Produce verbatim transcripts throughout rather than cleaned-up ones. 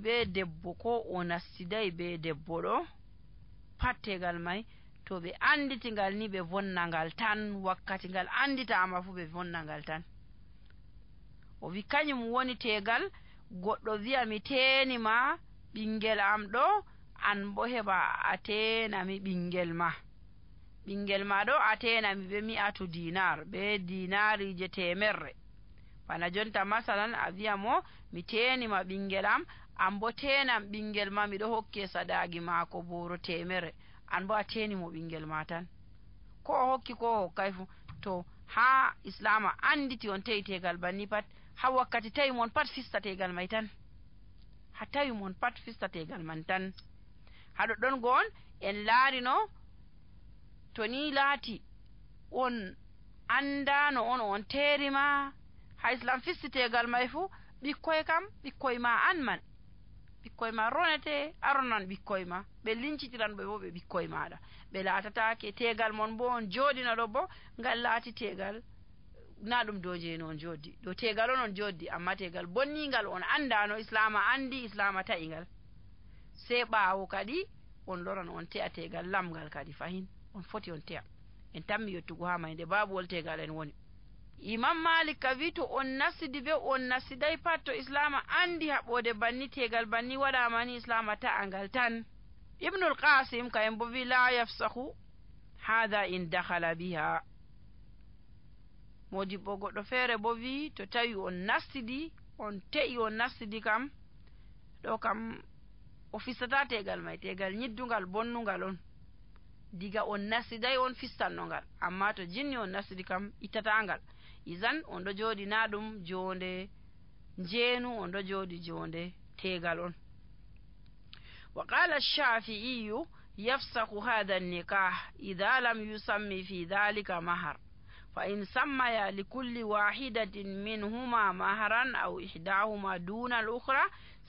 be debbo ko o nastiday be debbo ɗo pat tegal may to ɓe anditigal ni ɓe vonnangal tan, wakkati ngal anditama fu ɓe vonnangal tan. o wi kañum woni tegal goɗɗo wi'a mi tenima ɓingel am ɗo, an bo heɓa a tenami ɓingel ma ɓingel ma ɗo a tenami ɓe mi'atu dinar be dinarije temerre. bana jonta masalan a wi'a mo mi tenima ɓingel am, an bo tenam ɓingel ma miɗo hokke sadagi maako boro temere, an bo a tenimo ɓingel ma tan, ko o hokki ko o hokkay fu. to ha islama anditi on tawi tegal banni pat, ha wakkati tawi mon pat fista tegal may tan, ha tawi mon pat fista tegal man tan. haɗo ɗon go on en laarino to ni laati on andano on on terima ha islam fisti tegal may fu, ɓikkoy kam ɓikkoy ma an man, ɓikkoy ma ronete aronan ɓikkoy ma, ɓe lincitiran ɓe bo ɓe ɓikkoy maɗa, ɓe laatatake tegal mon bo on joɗino ɗo bo ngal laati tegal na ɗum dow jeni on joddi, dow tegal on on joddi, amma tegal bonningal on andano, islama andi, islama ta'ingal. sei ɓawo kadi on loran on te'a tegal lamgal kadi fahin on foti on te'a. en tammi yettugo ha mayde babuwol tegal en woni. imam malik ka wi to on nasidi be on nasiday pat, to islama andi haɓode banni tegal banni waɗama ni, islama ta'angal tan. ibnul qasim ka en bo wi la yafsahu hada in dakhala biha. modibbo goɗɗo feere bo wi to tawi on nastidi on te'i on nastidi kam ɗo kam o fistata tegal may, tegal nyiddungal bonnungal on, diga on nastiday on fistannogal, amma to jinni on nastidi kam ittatangal. izan on ɗo jooɗi na ɗum jonde njeenu, on ɗo jooɗi jonde tegal on. wa qala ash-shafi'i yafsahu hadha an-nikah idha lam yusammi fi dhalika mahar, fa in sammaya likulli wahidatin minhuma maharan aw ihdahuma duna al-ukhra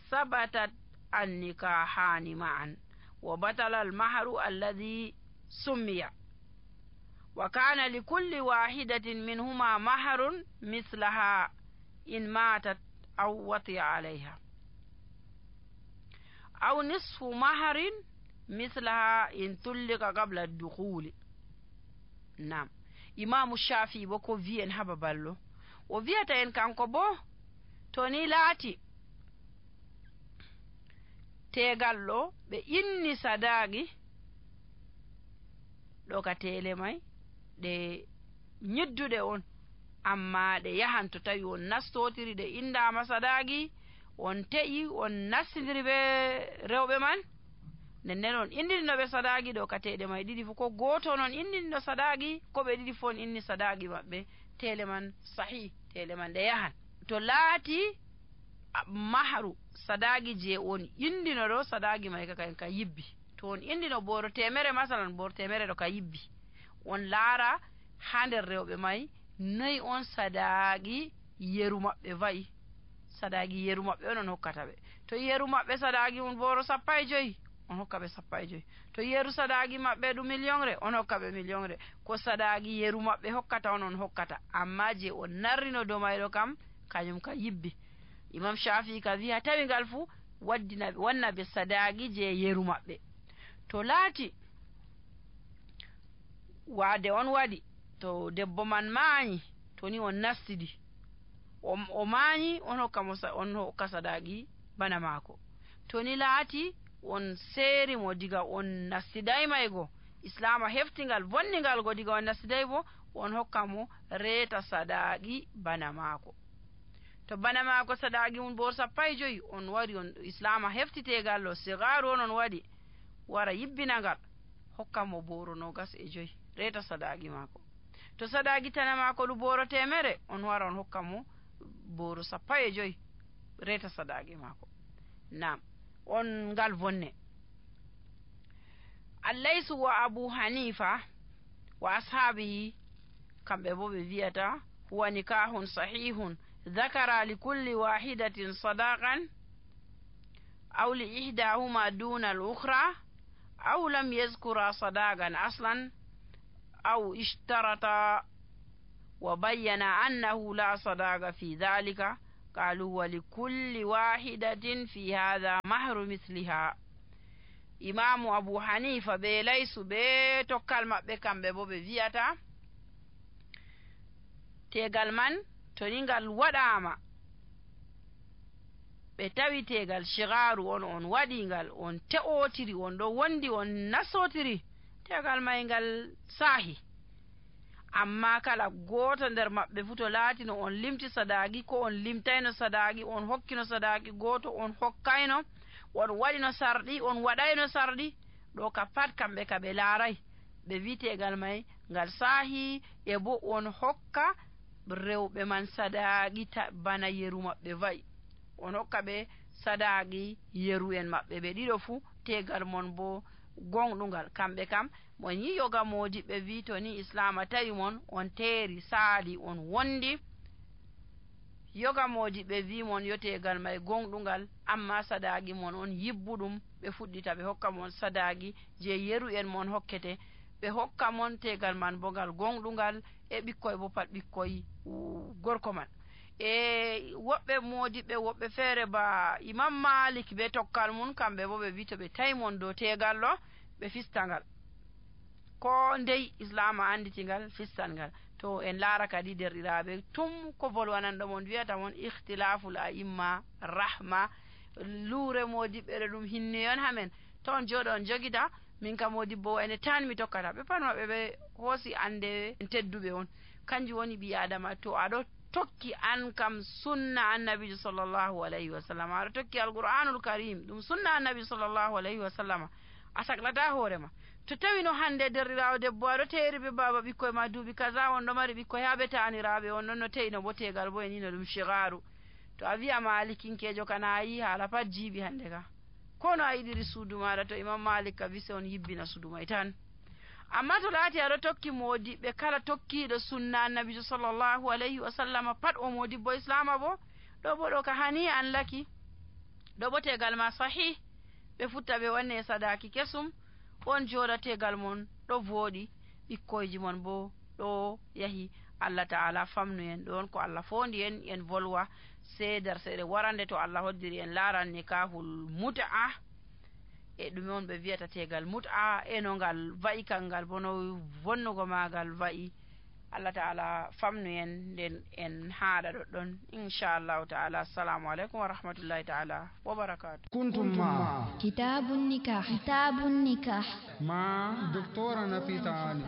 sabatat an-nikahani ma'an wa batala al-mahru alladhi summiya, wa kana likulli wahidatin minhuma mahrun mithlaha in matat aw watiya alayha aw nisfu mahrin mithlaha in tullika qabla ad-dukhul. nam imamu shafi bo ko wi en haba ballo, o wiyata en kanko bo to ni laati tegallo ɓe inni sadagi ɗo ka tele may ɗe nyidduɗe on, amma ɗe yahan to tawi on nastotiri ɗe indama sadagi, on te'i on nastidiri ɓe rewɓe man, nden on indininoɓe sadagi ɗo ka teɗe may ɗiɗi fu, ko goto non indinno sadagi, ko ɓe ɗiɗi fu on inni sadagi maɓɓe, tele man sahih, tele man ɗe yahan. to laati mahru sadagi je on indino ɗo, sadagi may ka ka yibbi, to on indino boro temere masalan, boro temere ɗo ka yibbi, on laara ha nder rewɓe may noyi on sadagi yeru maɓɓe wayi, sadagi yeru maɓɓe on on hokkata ɓe. to yeru maɓɓe sadagi on boro sappo e joyi, on hokka ɓe sappo e joyi. to yeru sadagi maɓɓe ɗum million re, on hokka ɓe million re. ko sadagi yeru maɓɓe hokkata on on hokkata, amma je on narrino dow mayɗo kam kañum ka yibbi. imam shafi ka wi'a tawi ngal fu waddina wanna ɓe sadagi je yeru maɓɓe. to laati waade on waɗi, to debbo man maayi, to ni on nastidi o, o maayi, on hokka mo on hokka sadagi bana maako. to ni laati on seeri mo diga on nastiday maygo, islama heftingal bonningal go diga on nastiday bo, on hokka mo reeta sadagi bana maako. to bana maako sadagi mun bor sappo e joyi, on wari on islama heftitegal lo sigaru on on waɗi, wara yibbinagal hokka mo boro nogas e joyi reeta sadagi maako. to sadagi tana maako ɗu boro temere, on wara on hokka mo boro sappo e joyi reeta sadagi maako. nam on ngal bonne. allaysu wa abu hanifa wa ashabihi kamɓe bo ɓe wiyata huwa nikahun sahihun ذكر لكل واحدة صداقا أو لإحداهما دون الأخرى أو لم يذكر صداقا أصلا أو اشترط وبين أنه لا صداق في ذلك qalu wa likulli wahidatin fi hadha mahru misliha. imamu Abu Hanifa be laysu be tokkal maɓɓe kamɓe bo ɓe wi'ata tegal man to ni ngal waɗama ɓe tawi tegal shigaru on on waɗi ngal on te'otiri on ɗo wondi on nasotiri tegal may ngal sahi. amma kala goto nder maɓɓe fu to laatino on limti sadaki ko on limtayno sadaki, on hokkino sadaki goto on hokkayno, on waɗino sarɗi on waɗayno sarɗi, ɗo ka pat kamɓe ka ɓe laaray ɓe wi tegal may ngal sahi, e bo on hokka rewɓe man sadaki bana yeru maɓɓe wayi, on hokka ɓe sadaki yeru en maɓɓe ɓe ɗiɗo fu tegal mon bo gonɗugal. kamɓe kam mon yi yoga modi ɓe wi to ni islama tawi mon on teeri saali on wondi, yoga modi ɓe wi mon yo tegal may gonɗugal, amma sadaki mon on yibbuɗum, ɓe fuɗɗita ɓe hokka mon sadaki je yeru en mon hokkete, ɓe hokka mon tegal man bo ngal gonɗugal, e ɓikkoy bo pat ɓikkoy gorko man. e woɓɓe modiɓe woɓɓe feere ba Imam Malik be tokkal mum kamɓe bo ɓe wi to ɓe tawi mon dow tegal ɗo ɓe fistangal, ko ndey islama anditingal fistangal. to en laara kadi derɗiraɓe tum ko volwananɗo mon wiyata mon ikhtilaful a'imma rahma, luure modiɓɓe ɗo ɗum hinnoyon hamen, to on jooɗo on jogita min ka modibbo ene tan mi tokkata, ɓe pat maɓɓe ɓe hoosi ande tedduɓe on. kanjum woni ɓi adama to aɗo tokki an kam sunna annabijo sallllahu alayhi wa sallam, aɗa tokki alqur'anul karim ɗum sunna annabi sallllahu alayhi wa sallam, a saklata hoorema. to tawi no hande derɗirawo debbo aɗo teeri be baba ɓikkoye ma duuɓi kaza, on ɗo mari ɓikkoye ha ɓe taniraɓe, on ɗon no teyi no bo tegal bo e ni no ɗum shigaru, to a wi'a malikinkejo kana a yi haala pat jiiɓi hande ka, ko no a yiɗiri suudu maɗa to Imam Malik ka wise on yibbina suudu may tan. amma to laati aɗo tokki modiɓɓe kala tokkiɗo sunna annabijo sallllahu alayhi wa sallam pat o modibbo islama bo, ɗo bo ɗo ka hani an laki, ɗo bo tegal ma sahih, ɓe futta ɓe wanne sadaki kesum, on jooɗa tegal mon ɗo vooɗi, ɓikkoyji mon bo ɗo yahi. Allah ta'ala famnu en ɗon ko Allah fondi en en volwa sei darseɗe warande to Allah hoddiri en laaran nikahul mut'a, e ɗume on ɓe wiyata tegal mut'a, e no ngal wa'i kangal bo no vonnugo magal wa'i. Allah ta'ala famnu en nden en haɗa ɗoɗɗon inchallahu ta'ala. assalamu aleykum wa rahmatullahi ta'ala wa barakatuh. kuntum ma kitabun nikah kitabun nikah ma doctora Nafisa Ali.